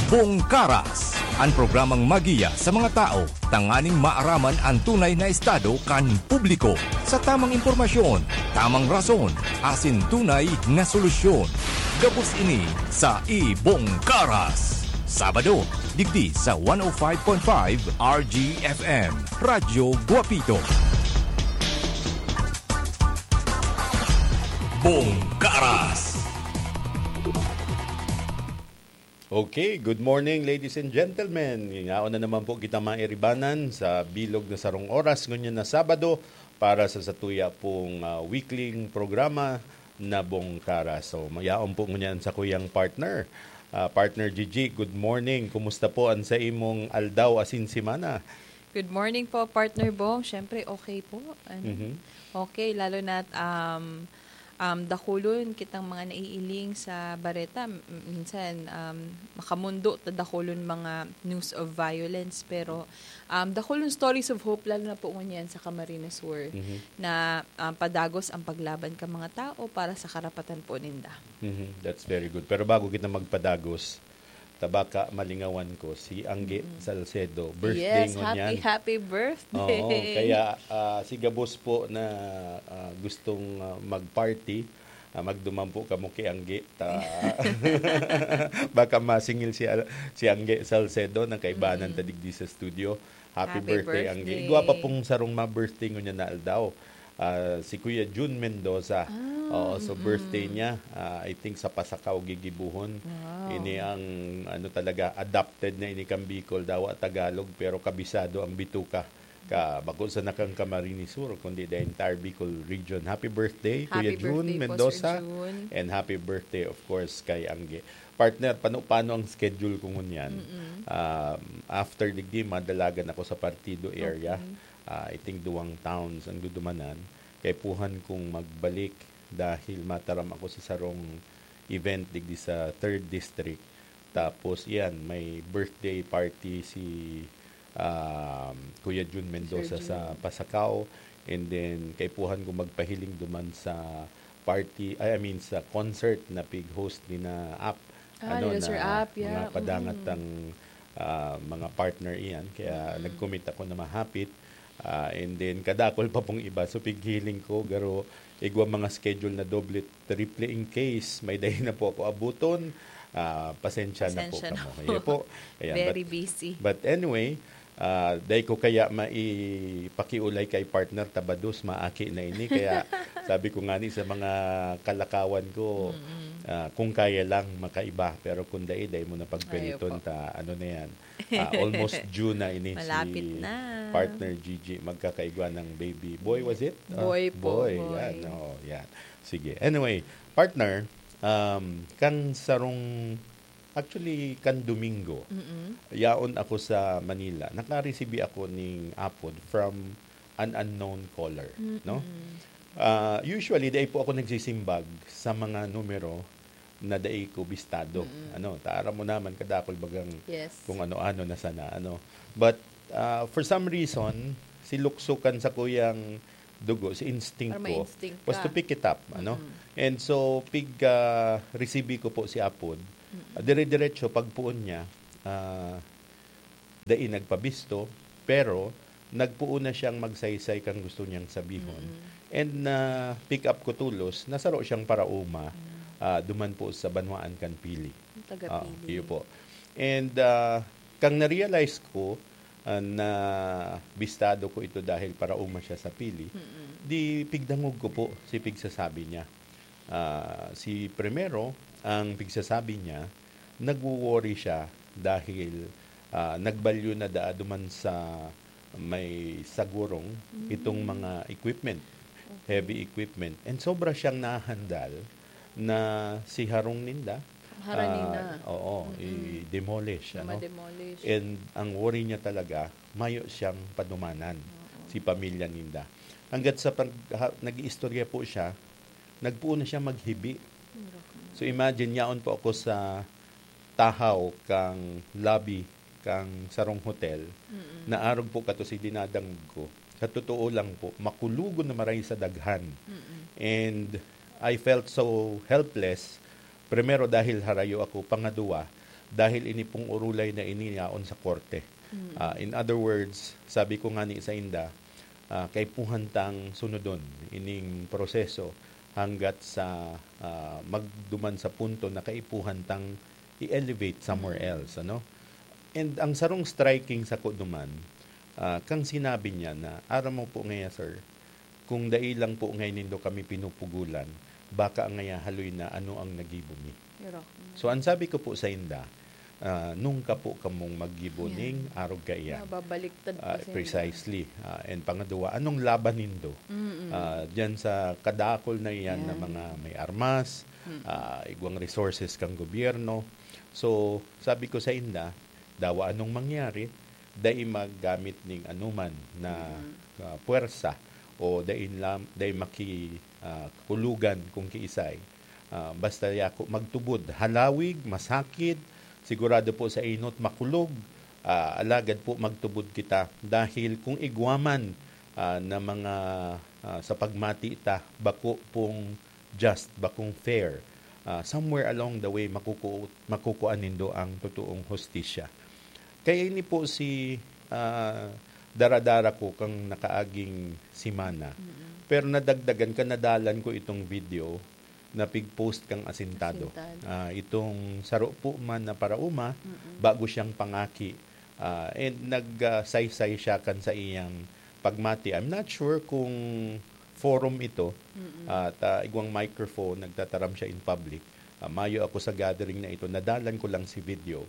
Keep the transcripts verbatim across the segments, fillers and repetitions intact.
Bongkaras, an programang magiya sa mga tao tanganing maaraman an tunay na estado kan publiko. Sa tamang impormasyon, tamang rason, asin tunay na solusyon. Gabos ini sa Ibongkaras. Sabado, digdi sa one oh five point five R G F M, Radyo Guapito. Bongkaras. Okay, good morning, ladies and gentlemen. Yaon na naman po kita mairibanan sa bilog na sarong oras ngunyan na Sabado para sa satuya pong, ah, weekly programa na Bongkaras. So, mayaon po ngunyan sa kuyang partner. Ah, partner Gigi, good morning. Kumusta po ang sa imong aldaw asin semana? Good morning po, Partner Bong. Siyempre, okay po. Ano? Mhm. Okay, lalo na, um, um, dakulon kitang mga naiiling sa bareta. M-, minsan, um, makamundo ta dakulon mga news of violence, pero, um, dakulon stories of hope, lalo na po ngunyan sa Camarines Sur, Mhm. na, um, padagos ang paglaban ka mga tao para sa karapatan po ninda. Mhm. That's very good. Pero bago kita magpadagos, tabaka malingawan ko, si Angge Mm. Salcedo, birthday Yes, ngunyan. Happy, happy birthday. Oo, kaya, ah, si Gabos po na, ah, gustong, ah, mag-party, ah, magduman po kamo kay Angge. Ta-, baka masingil si Al-, si Angge Salcedo na kaibanan Mm. ta digdi sa studio. Happy Happy birthday, Angge. birthday. Igwa pa pong sarong ma-birthday ngunyan na aldaw. Ah, si Kuya Jun Mendoza. Ah, Oo, so mm-mm. birthday niya, ah, I think sa Pasacao gigibuhon. Wow. Ini ang, ano talaga, adopted na ini kan Bicol, dawa Tagalog, pero kabisado ang bituka. Ka, bako sana kan Camarines Sur, kundi the entire Bicol region. Happy birthday, Kuya Happy Jun birthday po, Sir Mendoza. Jun. And happy birthday, of course, kay Angge. Partner, pano-, paano ang schedule ko ngunyan? Mm-mm. Um, after digdi, madalagan ako sa partido area. Okay. Ah, I think duwang towns ang dudumanan. Kaipuhan kong magbalik dahil mataram ako sa sarong event digdi sa third district. Tapos, yan, may birthday party si, um, Kuya Jun Mendoza Sir sa Jun. Pasacao. And then, kaipuhan ko magpahiling duman sa party, ay, I mean, sa concert na pig-host ni na Ap. Ah, Ano, nila Sir na Ap, yeah. mga padangat Mm. ang, ah, mga partner iyan. Kaya Mm. nag-commit ako na mahapit. Ah, and then, kadakol pa pong iba. So, pighiling ko, garo, igwa mga schedule na doble, triple in case may dai na po ako abuton. Ah, pasensya na po Pasensya na kamo. po. Iyo po. Ayan, Very but, busy. but anyway, ah, dai ko kaya maipakiulay kay partner, tabados, maaki na ini. Kaya sabi ko nga ni sa mga kalakawan ko, Mm-mm. ah, kung kaya lang, makaiba. Pero kung dai, dai mo na pagpiriton Ayo po. ta, ano na yan. Ah, almost due na ini Malapit si na. partner Gigi. Magkakaigwa ng baby. Boy, was it? Ah, Boy po, boy, boy. yan. Oo, yan. Sige. Anyway, partner, um, kang sarong, actually, kan Domingo, Mm-mm. yaon ako sa Manila. Nakaresibi ako ning apod from an unknown caller, no? Mm-mm. Ah, usually, dai po ako nagsisimbag sa mga numero na dai ko bistado. Mm-mm. Ano, ta aram mo naman, kadakol bagang Yes. kung ano-ano na sana, ano. But, ah, for some reason, si lukso kan sakuyang dugo, si instinct Or may ko, instinct was ka. to pick it up, ano. Mm-mm. And so, pig, ah, resibi ko po si Apod. Mm-mm. Dire-diretso, pagpoon niya, ah, dai nagpabisto, pero nagpoon na siyang magsaysay kan gusto niyang sabihon. Mm. And na-pick up ko tolos na saro siyang paraoma, Mm. ah, duman po sa banwaan kan Pili. Taga Ah, Pili. iyo po. And, ah, kang na-realize ko, ah, na bistado ko ito dahil paraoma siya sa Pili, Mm-mm. di pigdangog ko po si pigsasabi niya. Ah, si primero, ang pigsasabi niya, nagwo-worry siya dahil, ah, nagbalyo na daa duman sa may Sagurong Mm. itong mga equipment, Okay. heavy equipment. And sobra siyang nahandal na si harong ninda, Harani ah, na. oo, Mm-mm. i-demolish, ano? Ma-demolish. And ang worry niya talaga, mayo siyang padumanan, Oo. si pamilya ninda. Hanggat sa pag-, ha-, nag-iistorya po siya, nagpoon na siya maghibi. Mura ko na. So, imagine, yaon po ako sa tahaw kang lobby kang sarong hotel, Mm-mm. na arog po kato si dinadangog ko. Sa totoo lang po, makulogon na maray sa daghan. Mm-mm. And I felt so helpless. Primero, dahil harayo ako. Pangaduwa, dahil ini pong urulay na ini yaon sa korte. Ah, in other words, sabi ko nga ni sa inda, ah, kaipuhan tang sunodon ining proseso hanggat sa, ah, magduman sa punto na kaipuhan tang i-elevate somewhere else, ano? And ang sarong striking sako duman, ah, kang sinabi niya na, "Aram mo po ngaya, sir, kung dai lang po ngayon nindo kami pinupugulan, baka ngaya haloy na ano ang nagibo mi." Pero, So, ang sabi ko po sa inda, ah, nung ka po kamong maggibo Yan. ning arog kaiyan. Nababaliktad pa Ah, sa inda. Precisely. Ah, and pangadwa, anong laban nindo? Mm-mm. Ah, diyan sa kadakol na iyan na Yan. mga may armas, Mm. ah, igwang resources kang gobyerno. So, sabi ko sa inda, dawa anong mangyari, dai maggamit ning anuman na, Mm. ah, puwersa o dai lam-, dai maki-, ah, kulugan kung kiisay. Ah, basta yako magtubod, halawig, masakit, sigurado po sa inot, makulog, ah, alagad po magtubod kita. Dahil kung igwa man, ah, na mga, ah, sa pagmati ta, bako pong just, bakong fair, ah, somewhere along the way, makuku-, makukuha nindo ang totoong hustisya. Kaya ini po si, ah, dara-dara ko kang nakaaging semana. Mm-mm. Pero nadagdagan ka, nadalan ko itong video na pig-post kang asintado. Asintado. Ah, itong saro po man na paraoma, Mm-mm. bago siyang pangaki. Ah, and nag, ah, saysay siya kan sa iyang pagmati. I'm not sure kung forum ito, Mm-mm. at, ah, igwang microphone, nagtataram siya in public. Ah, mayo ako sa gathering na ito, nadalan ko lang si video.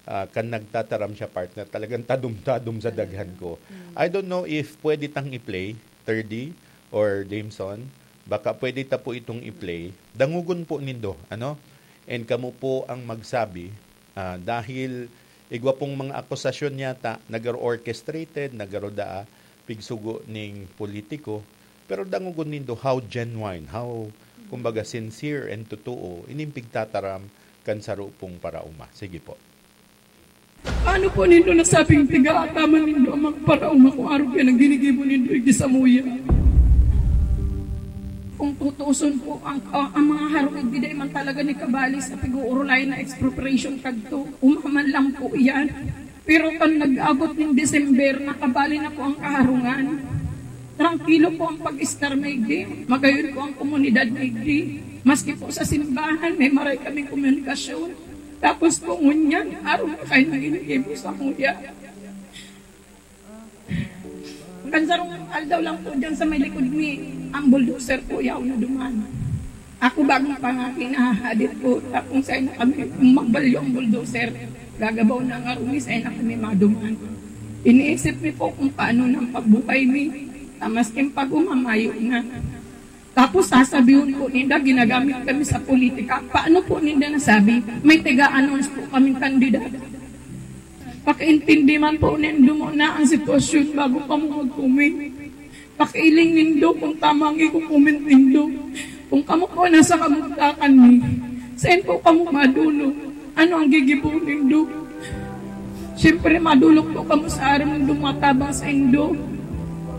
Ah, kan nagtataram siya, partner, talagang tadom-tadom sa Talaga. daghan ko. Mm. I don't know if pwede tang i-play, Thirdy or Jameson, baka pwede ta po itong i-play. Dangogon po nindo, ano? And kamo po ang magsabi, ah, dahil igwa pong mga akusasyon yata, nagaro-orchestrated, nagaro daa, pigsugo ning politiko, pero dangogon nindo how genuine, how, kumbaga, sincere and totoo ining pigtataram kan saro pong paraoma. Sige po. Paano po nindo nasabing tigaataman nindo ang mga paraoma kung arog yan ang ginigibo nindo igdi samuya? Kung tutuuson po, ang, ang, ang mga harong igdi dai man talaga ni kabali sa pig-uurulayan na expropriation kadto. Umaman lang po yan. Pero kan nag-abot ning December, nakabali na po ang kaharungan. Trangkilo po ang pag-estar na igdi. Magayon po ang komunidad na igdi. Maski po sa simbahan, may maray kaming komunikasyon. Tapos po ngunyan, araw na kayo naginigibo samuya. Kan sarong aldaw lang po dyan sa may likod mi, ang bulldozer po yaw na duman. Ako bagong pangaki, nahahadit po. Tapos sa'yo na kami, magbalyo ang bulldozer. Gagabaw na nga rumi, sa'yo na kami maduman. Iniisip mi po kung paano nang pagbuhay mi. Tamas king pag-umamayo na. Tapos sasabihon po ninda, ginagamit kami sa politika. Paano po ninda nasabi? May taga-announce po kaming kandidato. Pakiintindi man po nindo muna ang sitwasyon bago kamo mag-comment. Pakiiling nindo kung tama ang iko-comment nindo. Kung kamo po nasa kamugtakan mi, saan po kamo madulog? Ano ang gigibo nindo? Siyempre, madulog po kamo sa aram ng dumatabang sa indo.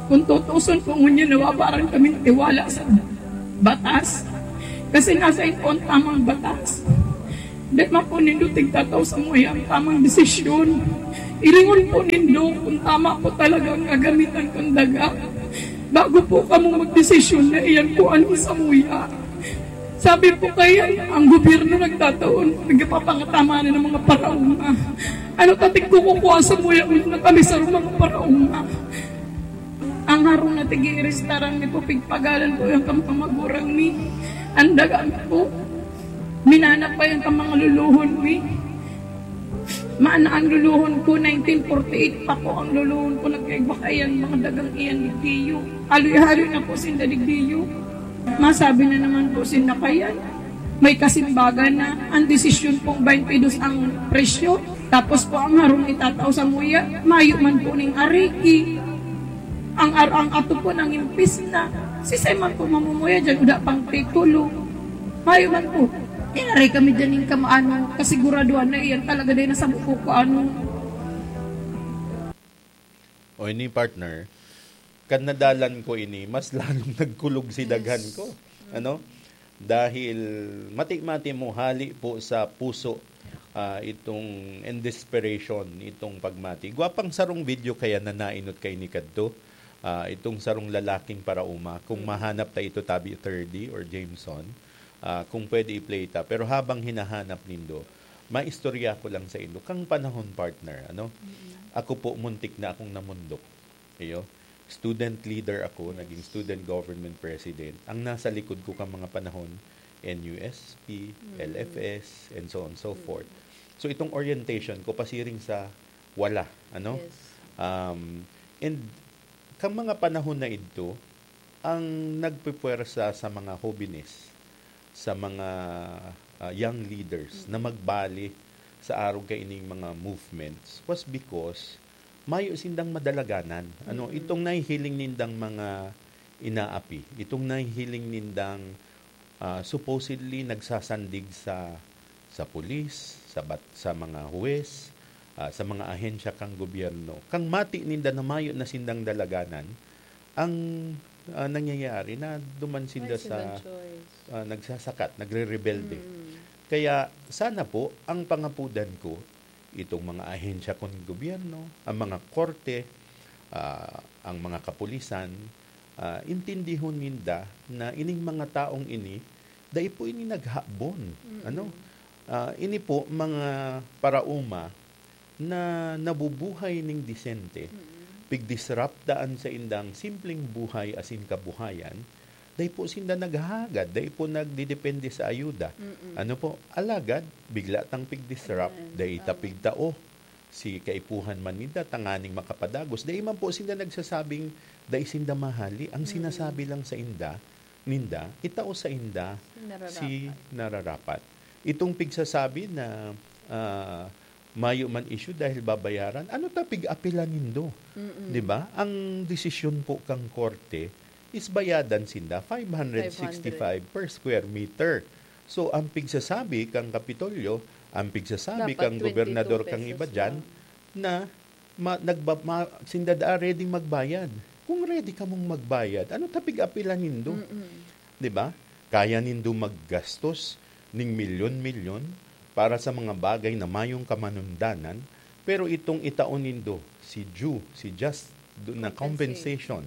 Kung tutuson po ngunyan, nawawaran kaming tiwala sa batas. Kasi nasa po ang tamang batas. Di man po nindo tigtataw sa muya ang tamang desisyon. Ilingon po nindo kung tama po talaga ang gagamitan kong daga. Bago po kamo magdesisyon na iyan po ang samuya. Sabi po kaya, ang gobyerno nagtataon, nagpapangataman na ng mga paraoma. Ano tating kukukuha sa muya na kami sa mga paraoma? Ang harong na tigi-restaran mi po, pigpagalan po yung kampamagurang mi. Ang daga mi po, minanap pa yung kamangaluluhon mi. Maana ang luluhon ko, nineteen forty-eight pa po ang luluhon ko, nagkaibakayan, mga dagang iyan, digdiyo. Haloy-haloy na po sinda digdiyo. Masabi na naman po sinda kayan. May kasimbagan na ang desisyon pong twenty-two ang presyo. Tapos po ang harong itatao sa muya, mayo man po ning ariki. Ang ar-, ang ato po nang impis na. Si Simon po mamumuya dyan, uda pang titulo. Mayo man po. Inaray kami dyan yung kamaano, kasiguraduhan na iyan talaga din nasa buko ko ano. O ini, partner, kan nadalan ko ini, mas lalong nagkulog si daghan Yes. ko. Ano? Dahil mati-mati mo hali po sa puso ah, itong, and desperation, itong pagmati. Gwapang sarong video kaya na nainot kay ni kadto, ah, itong sarong lalaking parauma, kung Mm. mahanap ta ito, tabi Thirdy or Jameson, ah, kung pwede i-play ta. Pero habang hinahanap nindo, maistorya ko lang sa indo. Kang panahon, partner, ano? Mm. Ako po, muntik na akong namundok. Iyo. Student leader ako, Yes. naging student government president. Ang nasa likod ko kang mga panahon, N U S P, Mm. L F S, and so on and so Mm. forth. So, itong orientation ko, pasiring sa wala, ano? Yes. Um, and kang mga panahon na idto, ang nagpupwersa sa mga hobenes, sa mga, ah, young leaders Mm. na magbali sa arog kaining mga movements was because mayo sindang madalaganan. Ano, Mm. itong nahihiling nindang mga inaapi, itong nahihiling nindang, ah, supposedly nagsasandig sa, sa pulis, sa bat-, sa mga huwes, ah, sa mga ahensya kang gobyerno. Kang mati ninda na mayo na sindang dalaganan, ang, ah, nangyayari na duman sinda Ay, sa, silang choice. ah, nagsasakat, nagre-rebelde. Mm. Kaya sana po, ang pangapudan ko, itong mga ahensya kang gobyerno, ang mga korte, ah, ang mga kapulisan, ah, intindihon ninda na ining mga taong ini, dai po ini naghabon. Mm. Ano? Ah, ini po, mga parauma na nabubuhay ning disente, Mm. pigdisrupt daan sa indang simpleng buhay asin kabuhayan, dai po sinda naghahagad, dai po nagdedepende sa ayuda. Mm-mm. Ano po? Alagad, bigla tang pigdisrupt, Ayan, dai ta tama. pigtao si kaipuhan man ninda tanganing makapadagos. Dai man po sinda nagsasabing dai sinda mahali. Ang Mm. sinasabi lang sa inda, ninda, itao sa inda Si nararapat. si nararapat. Itong pigsasabi na, ah, mayo man issue dahil babayaran, ano ta pig-apelan nindo? Mm-mm. Di ba? Ang desisyon po kang korte is bayadan sinda five hundred sixty-five per square meter. So, ang pigsasabi kang Kapitolyo, ang pigsasabi Dapat kang gobernador twenty-two kang iba pesos dyan, lang. na ma-, nagba-, ma-, sinda daa ready magbayad. Kung ready kamong magbayad, ano ta pig-apelan nindo? Mm-mm. Di ba? Kaya nindo maggastos ning milyon-milyon para sa mga bagay na mayong kamanundanan, pero itong itao nindo, si due, si just do-, na Compensate. compensation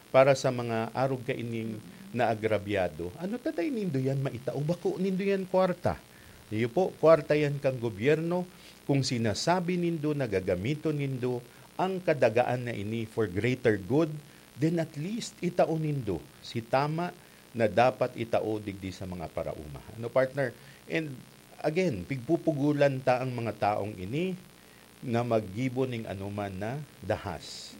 para sa mga arog kaining Mm. naagrabyado, ano ta dai nindo yan maitao? Bako nindo yan kwarta. Iyo po, kwarta yan kang gobyerno. Kung sinasabi nindo na gagamiton nindo ang kadagaan na ini for greater good, then at least itao nindo si tama na dapat itao digdi sa mga parauma. Ano, partner? And again, pigpupugulan ta ang mga taong ini na maggibo ning anoman na dahas.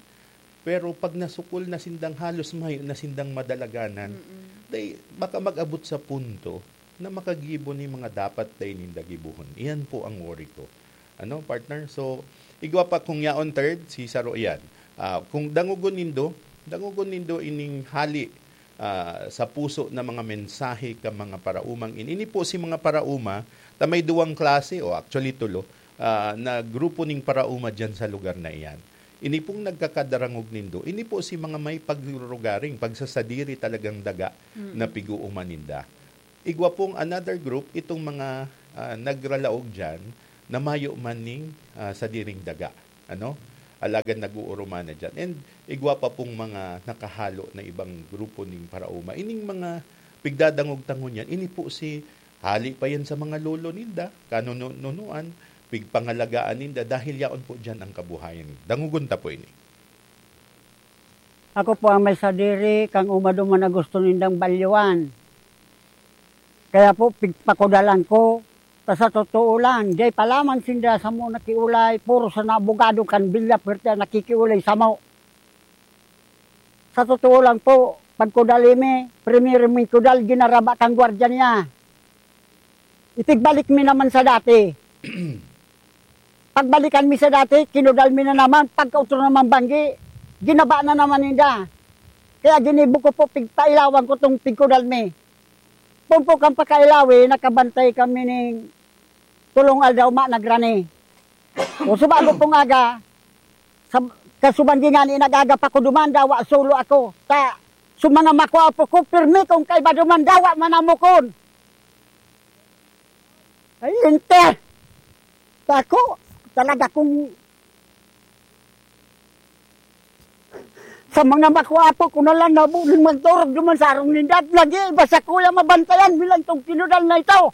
Pero pag nasukol na sindang halos mayo na sindang madalaganan, Mm-mm. dai, baka mag-abot sa punto na makagibo ni mga dapat dai ninda gibohon. Iyan po ang worry ko. Ano, partner? So, igwa pa kung yaon third, si Saro iyan. Ah, kung dangogon nindo, dangogon nindo ining hali, ah, sa puso na mga mensahe ka mga paraumang ini. Ini po si mga parauma, ta may duwang klase, o actually tulo, ah, na grupo ning parauma diyan sa lugar na iyan. Ini pong nagkakadarangog nindo, ini po si mga may pagrurugaring, pagsasadiri talagang daga Mm. na pig-uuman ninda. Igwa pong another group, itong mga, ah, nagralaog diyan na mayo man ning, ah, sadiring daga, ano? Alagad nag-uurumana diyan. And igwa pa pong mga nakahalo na ibang grupo ning parauma. Ining mga pigdadangog-tangon yan, ini po si hali pa yan sa mga lolo ninda, kanununuan, pigpangalagaan ninda, dahil yaon po diyan ang kabuhayan. Dangogon ta po ini. Ako po ang may sadiri, kang umaduman na gusto nindang balyuan. Kaya po, pigpakudalan ko. Ta sa totoo lang, dai pa lamang sinda samo nakiulay, puro sana abogado kan Villa Fuerte ang nakikiulay samo. Sa totoo lang po, pagkudali mi, primero mi kudal, ginaraba kan gwardiya niya. Ipigbalik mi naman sa dati. Pagbalikan mi sa dati, kinudal mi na naman, pagkautro naman banggi, ginaba na naman ninda. Kaya ginibo ko po, pigpailawan ko tong pigkudal mi. Pumpo kan pakailawi, nakabantay kami ning tulong aldaw ma nagrani. O subago pong aga, sa, kasuban ngani nag-aga pa ko duman, dawa solo ako. Ta, sa mga makwapo ko, pirmi kong kaiba duman, dawa manamukon. Ay, ente! Tako, talaga kung sa mga makwapo ko na lang nabuling magdorog duman sa arong ninda, lagi iba sa kuya mabantayan bilang tong pinudal na ito.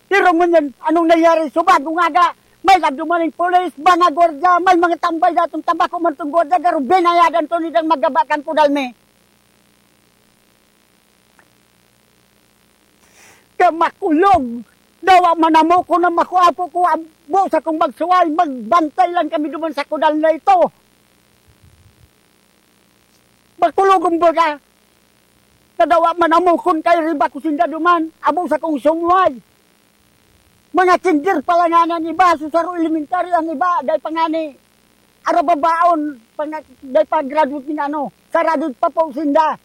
Pero ngunyan, anong nangyari? Subag, umaga, may nagduman ng pulis, mga gwardiya, may mga tambay datong tabako man tong gwardiya, garo binayadan to nidang magabakan ko dalmi. Kaya makulog, dawa manamo ko na makuapo ko, abo sa kong magsuway, magbantay lang kami duman sa kudal na ito. Makulog, kumbaga, na dawa manamo kun kay riba ko sinda duman, abo sa kong sumuway. Mga kinder pa lang nga ang iba, sa saro elementary ang iba, dahil pa nga ni, arababaon, pa nga, dahil pa graduate ni ano, sa graduate pa po sinda.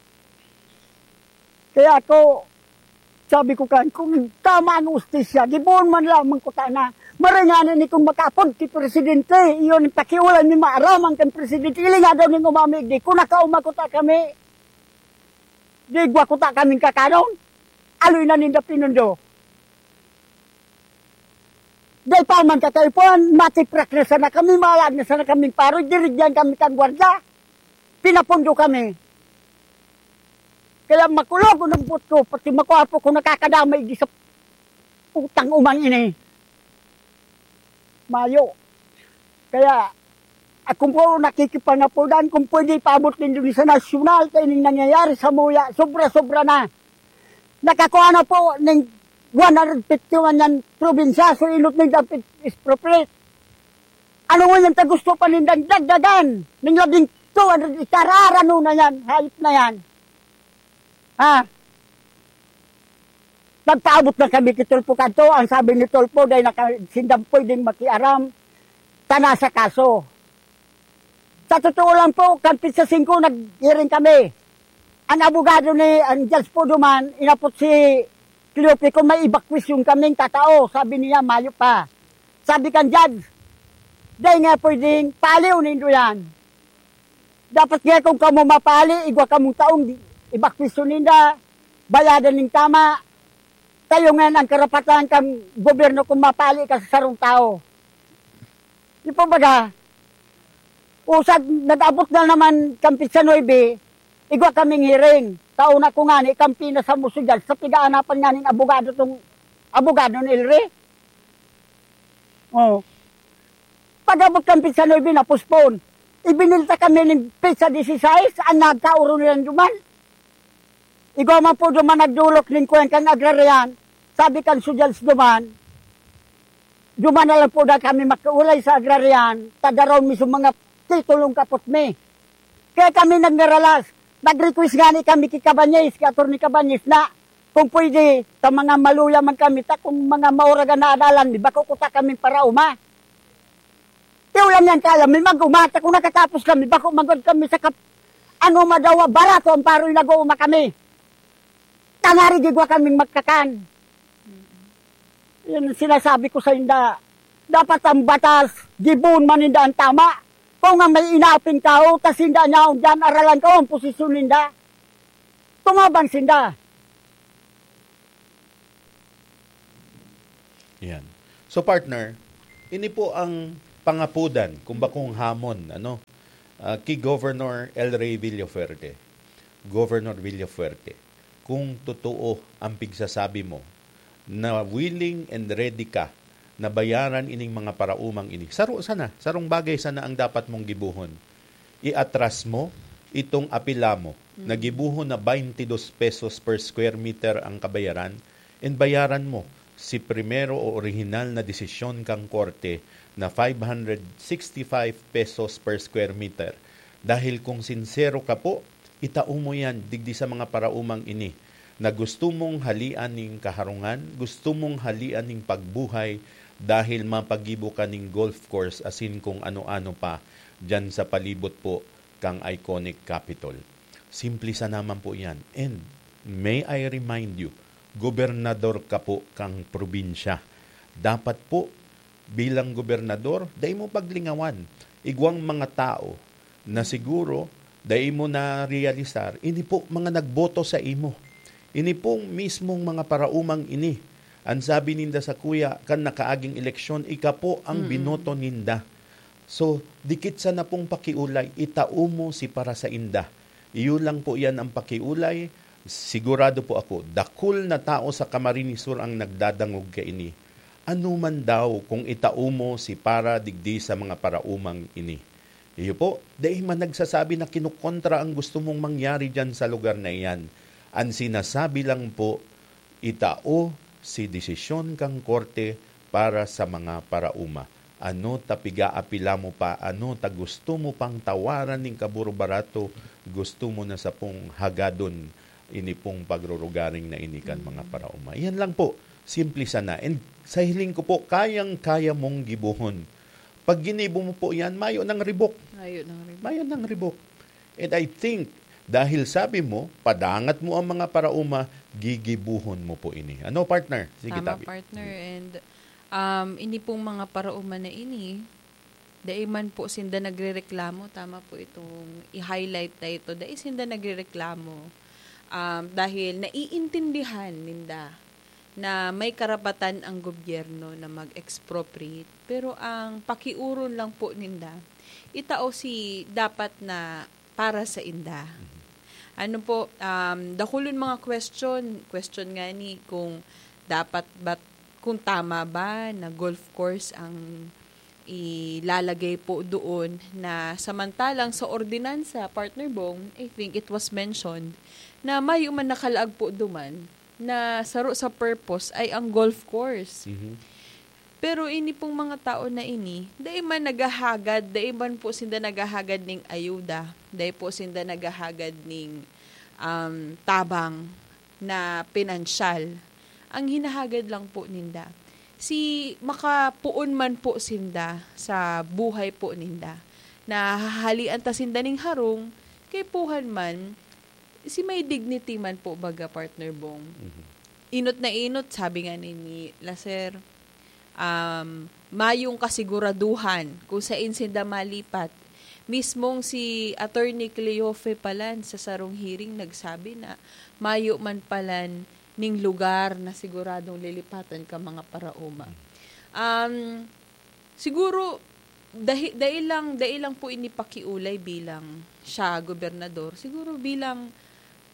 Kaya ako, sabi ko kan, kung tama ang ustisya, gibohon man lamang ko ta na. Maray nga ni kung makapod ki presidente, iyon ang pakiulay ni maaramang kan presidente. Ili nga daw ning umamig di, kung nakauma ko ta kami, di gwa ko ta kaming kakanon. Aloy na ninda pinundo. Dai pa man kataipuan, matiprak na sana kami, malag na sana kaming paroy, dirigyan kami kan gwardiya. Pinapundo kami. Kaya makulog ang buot ko, pati makwapo ko nakakadamay di sa putang umang ini. Mayo. Kaya, ako po nakikipangapodan kung pwede ipaabot nindo ni sa nasyonal, kaya ining nangyayari sa Muya, sobra-sobra na. Nakakuha na po ning one hundred fifty-one yan probinsya, so inot ning dapat expropriate. Ano nga yan ta gusto pa nindang dagdagan? Ning labing two hundred hektarya, ano na yan? Hayop na yan. Ha? Nagpaabot na kami ki Tulfo kadto. Ang sabi ni Tulfo, dahil naka-, sindang pwedeng makiaram, tana sa kaso. Sa totoo lang po, kan petsa singko, nag-hearing kami. Ang abogado ni, ang judge po duman, inapot si Cleope kung may evacuation kaming tatao. Sabi niya, mayo pa. Sabi kan judge, dai nga pwedeng paaliw nindo yan. Dapat nga kung kamo mapali, igwa kamong taong di, evacuation ninda, bayadan ning tama. Tayo ngayon ang karapatan kan gobyerno kung mapali ka sa sarong tao. Di po baga, usag, nag-abot na naman kan petsa nuebe, igwa kaming hearing. Taon ako nga ni, kampi na sa muso dyan, sa pigaanapan nga ning abogado tong, abogado ni Elry. Oh. Pag-abot kan petsa nuebe, na-postpone. Ibinilta kami ning petsa disisais, ang nagkauro nilang duman. Igwa man po duman nagdolok ning kuwan kan agraryan. Sabi kan sudyals duman, duman na lang po na kami magkaulay sa agraryan, tadaron mi sa mga titulong kapot mi. Kaya kami nagngaralas, nag-request nga ni kami ki Cabañez, ki Attorney Cabañez na, kung pwede, ta mga maluya man kami, ta kung mga mauragan na adalan, di ba kukuta kami para uma? Di ulan yan kaya, may mag-uma, ta kung nakatapos kami, bako magod kami sa kap-, ano madawa, barato ang paroy nag-uuma kami. Tangarig igwa kaming magkakan. Yan ang sinasabi ko sa inda. Dapat ang batas, gibon man ninda ang tama. Kung ang may inapin tao, tas sinda niya, diyan, aralan ko ang posisyon ninda. Tumabang sinda. Yan. So, partner, ini po ang pangapodan, kung bakong hamon, ano, ah, ki Governor El Rey Villafuerte. Governor Villafuerte, kung totoo ang pigsasabi mo, na willing and ready ka na bayaran ining mga paraumang ini, saro sana, sarong bagay sana ang dapat mong gibohon. Iatras mo itong apela mo, na gibohon na twenty-dos pesos per square meter ang kabayaran, and bayaran mo si primero o orihinal na desisyon kan korte na five hundred sixty-five pesos per square meter. Dahil kung sinsero ka po, itao mo yan digdi sa mga paraumang ini na gusto mong halian ning kaharungan, gusto mong halian ning pagbuhay dahil mapagibo ka ning golf course asin kung ano-ano pa diyan sa palibot po kang iconic Capitol. Simple sana man po yan. And may I remind you, gobernador ka po kang probinsya. Dapat po, bilang gobernador, dai mo paglingawan. Igwang mga tao na siguro dai mo na-realisar, ini po mga nagboto sa imo. Ini pong mismong mga paraumang ini An sabi ninda sakuya, kan nakaaging eleksyon, ika po ang Mm. binoto ninda. So, dikit sana pong pakiulay, itao mo si para sainda. Iyo lang po yan ang pakiulay. Sigurado po ako, dakul na tao sa Camarines Sur ang nagdadangog kaini. Ano man daw kung itao mo si para digdi sa mga paraumang ini? Iyo po, dai man nagsasabi na kinukontra ang gusto mong mangyari diyan sa lugar na iyan. An sinasabi lang po, itao si desisyon kan korte para sa mga parauma. Ano ta pigaapila mo pa, ano ta gusto mo pang tawaran nin kaburo-barato, gusto mo na sa pong hagadon ini pong pagrurugaring na ini kan mga parauma. Yan lang po, simple sana. And sa hiling ko po, kayang-kaya mong gibohon. Pag ginibo mo po yan, mayo nang ribok. Mayo nang ribok. Mayo nang ribok. And I think, dahil sabi mo, padangat mo ang mga parauma, gigibuhon mo po ini. Ano, partner? Sige, Tama, tabi. Partner. And um, ini pong mga parauma na ini, dai man po sinda nagrereklamo. Tama po itong i-highlight na ito. Dai sinda nagrereklamo. Um, dahil naiintindihan ninda na may karapatan ang gobyerno na mag-expropriate. Pero ang pakiuron lang po ninda, itao si dapat na para sa inda. Ano po, um, dakulon mga question, question nga ni kung dapat ba, kung tama ba na golf course ang ilalagay po doon, na samantalang sa ordinansa, Partner Bong, I think it was mentioned na mayo man nakalaag po duman na saro sa purpose ay ang golf course. Mhm. Pero ini pong mga tao na ini, dai man naghahagad, dai man po sinda naghahagad ning ayuda, dai po sinda naghahagad ning um, tabang na pinansyal. Ang hinahagad lang po ninda, si makapuon man po sinda sa buhay po ninda. Na hahalian ta sinda ning harong, kay puhan man, si may dignity man po, baga, Partner Bong. Mhm. Inot na inot, sabi nga ni, ni Lacer, um, mayong kasiguraduhan kung sain sinda malipat. Mismong si Attorney Cleofe palan sa sarong hearing nagsabi na mayo man palan ning lugar na siguradong lilipatan ka mga paraoma. Um, siguro, dahi, dai lang, dai lang po ini pakiulay bilang siya gobernador. Siguro bilang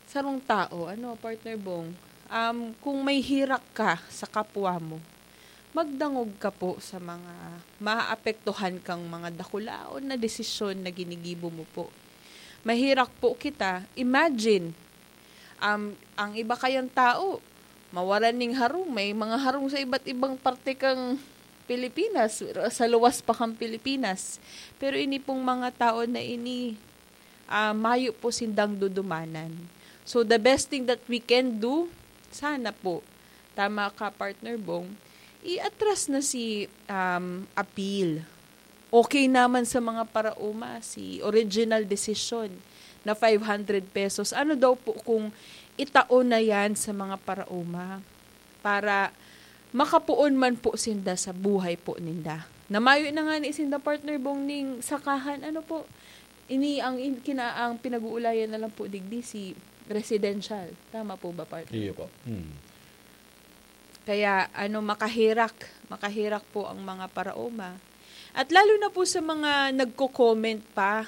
sarong tao, ano, Partner Bong, um, kung may hirak ka sa kapwa mo, magdangog ka po sa mga maapektuhan kang mga dakulaon na desisyon na ginigibo mo po. Mahirak po kita. Imagine, um, ang iba kayang tao, mawalan ning harong, may mga harong sa iba't ibang parte kang Pilipinas, sa luwas pa kang Pilipinas. Pero ini pong mga tao na ini, ah, mayo po sindang dudumanan. So, the best thing that we can do, sana po, tama ka, Partner Bong, i-atras na si um, appeal. Okay naman sa mga paraoma, si original decision na five hundred pesos. Ano daw po kung itao na yan sa mga paraoma para makapuon man po sinda sa buhay po ninda? Na mayo na nga ni sinda, Partner Bong, ning sakahan. Ano po? Ini ang in- kina ang pinag-uulayan na lang po digdi si residential. Tama po ba, Partner? Iyo po. Hmm. Kaya ano, makahirak, makahirak po ang mga paraoma. At lalo na po sa mga nagko-comment pa